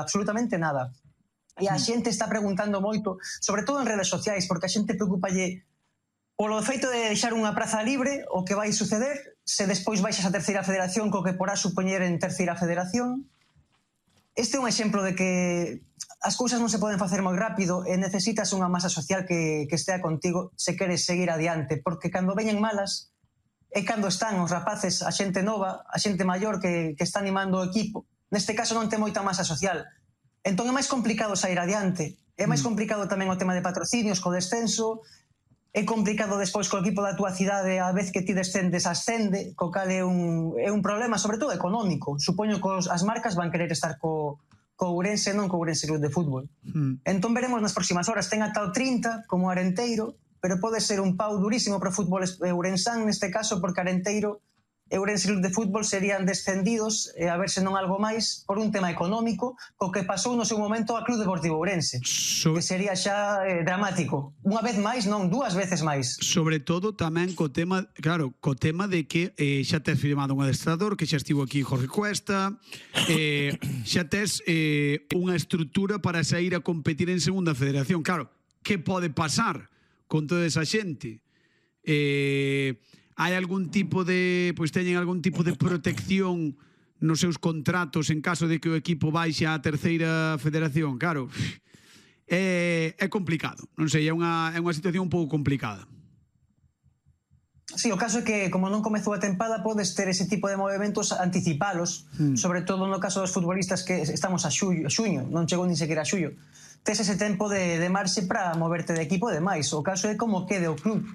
absolutamente nada. E a xente está preguntando moito, sobre todo en redes sociais, porque a xente preocupalle polo feito de deixar unha praza libre, o que vai suceder se despois baixas a terceira federación, co que porá supoñer en terceira federación. Este é un exemplo de que as cousas non se poden facer moi rápido e necesitas unha masa social que estea contigo se queres seguir adiante, porque cando veñen malas é cando están os rapaces, a xente nova, a xente maior que está animando o equipo. Neste caso non ten moita masa social. Entón é máis complicado sair adiante. É máis complicado tamén o tema de patrocinios co descenso, é complicado despois co equipo da túa cidade a vez que ti descendes ascende, co cal é un problema, sobre todo económico. Supoño que as marcas van querer estar co Ourense, non co Ourense Club de Fútbol. Entón veremos nas próximas horas, ten ata o 30 como Arenteiro, pero pode ser un pau durísimo para o fútbol ourensán neste caso, porque Arenteiro e Ourense Club de Fútbol serían descendidos, a ver se non algo máis, por un tema económico, co que pasou no seu momento a Club Deportivo Ourense, que sería xa dramático. Unha vez máis, non, dúas veces máis. Sobre todo tamén co tema, claro, co tema de que xa tes firmado un adestrador, que xa estivo aquí Jorge Cuesta, xa tes unha estrutura para sair a competir en segunda federación. Claro, que pode pasar con toda esa xente? Hai algún tipo de, pois teñen algún tipo de protección nos seus contratos en caso de que o equipo baixe á terceira federación? Claro, é complicado, non sei, é unha situación un pouco complicada. Sí, o caso é que, como non comezou a tempada, podes ter ese tipo de movimentos, anticipalos, sobre todo no caso dos futbolistas que estamos a xuño, non chegou nin sequera a xullo. Tes ese tempo de marxe para moverte de equipo e demais. O caso é como quede o club,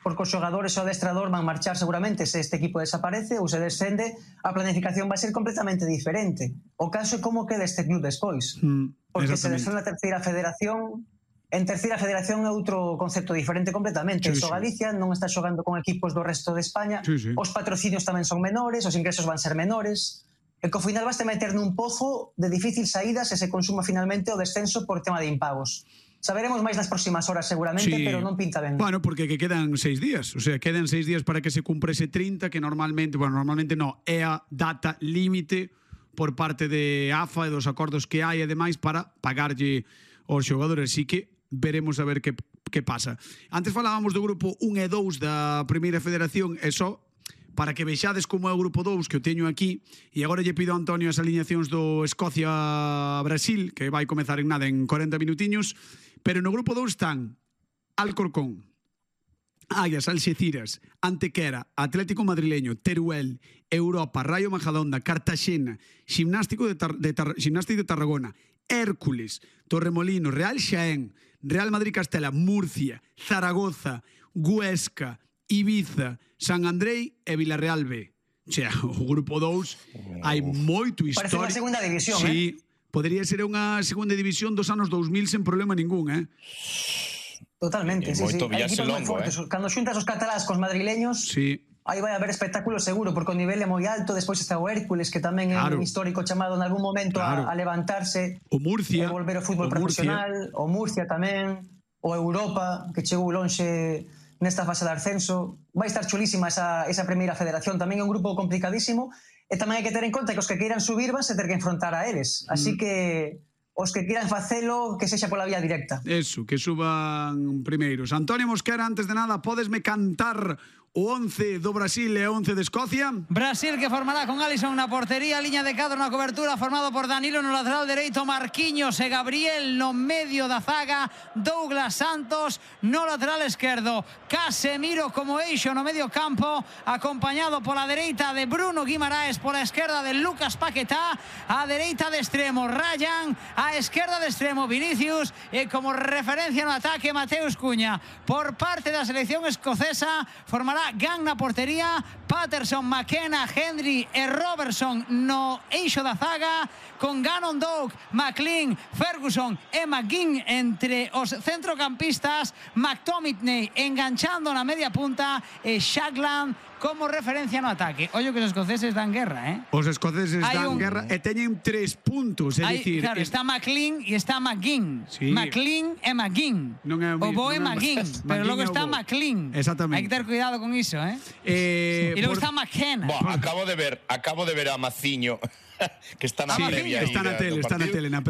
porque os xogadores e o adestrador van marchar seguramente se este equipo desaparece ou se descende, a planificación vai ser completamente diferente. O caso é como quede este club despois. Porque se descende a terceira federación, en terceira federación é outro concepto diferente completamente. Sí, Galicia non está xogando con equipos do resto de España, os patrocinios tamén son menores, os ingresos van ser menores, e que ao final vas te meter nun pozo de difícil saída se se consuma finalmente o descenso por tema de impagos. Saberemos máis nas próximas horas seguramente, pero non pinta ben. Bueno, porque que quedan 6 días, o sea, quedan 6 días para que se cumpra ese 30, que normalmente no, é a data límite por parte de AFA e dos acordos que hai, ademais, para pagarlle aos xogadores. Así que veremos a ver que pasa. Antes falábamos do grupo 1 e 2 da Primeira Federación, e só para que vexades como é o grupo 2, que o teño aquí, e agora lle pido a Antonio as alineacións do Escocia-Brasil, que vai comezar en nada, en 40 minutiños, pero no grupo 2 están Alcorcón, Aias, Alxeciras, Antequera, Atlético Madrileño, Teruel, Europa, Rayo Majadahonda, Cartaxena, Ximnástico de Tarragona, Hércules, Torremolinos, Real Xaén, Real Madrid Castela, Murcia, Zaragoza, Huesca, Ibiza, San Andrei e Villarreal B. O sea, o grupo 2 hai moito histórico. Parece unha segunda división, sí, podría ser unha segunda división dos anos 2000 sen problema ningún, Totalmente, sí. Hai equipos moi fortes. Cando xuntas os catalás cos madrileños, aí vai haber espectáculo seguro, porque o nivel é moi alto. Despois está o Hércules, que tamén é un histórico chamado en algún momento a levantarse, o Murcia, e volver ao fútbol profesional, o Murcia tamén, o Europa, que chegou lonxe nesta fase de ascenso. Vai estar chulísima esa primeira federación. Tamén é un grupo complicadísimo, e tamén hai que ter en conta que os que queiran subir van se ter que enfrontar a eles. Así que os que queiran facelo, que sexa pola vía directa. Eso, que suban primeiros. Antonio Mosquera, antes de nada, podesme cantar o 11 do Brasil e o 11 de Escocia? Brasil, que formará con Alisson na portería, liña de cadro na cobertura, formado por Danilo no lateral dereito, Marquinhos e Gabriel no medio da zaga, Douglas Santos no lateral esquerdo, Casemiro como eixo no medio campo, acompañado pola dereita de Bruno Guimaraes, pola esquerda de Lucas Paquetá, a dereita de extremo Ryan, a esquerda de extremo Vinicius, e como referencia no ataque Mateus Cunha. Por parte da selección escocesa formará Gang na portería, Patterson, McKenna, Henry e Robertson no eixo da zaga, con Gannon Doak, McLean, Ferguson e McGinn entre os centrocampistas, McTominay enganchando na media punta e Shagland como referencia no ataque. Ollo que os escoceses dan guerra, Os escoceses dan guerra e teñen 3 puntos, é dicir... Claro, está McLean e está McGinn. McLean e McGinn. O bo é McGinn, pero logo está McLean. Exactamente. Hai que ter cuidado con iso, E logo está McKenna. Acabo de ver a Maciño que está na previa. Está na tele, na previa.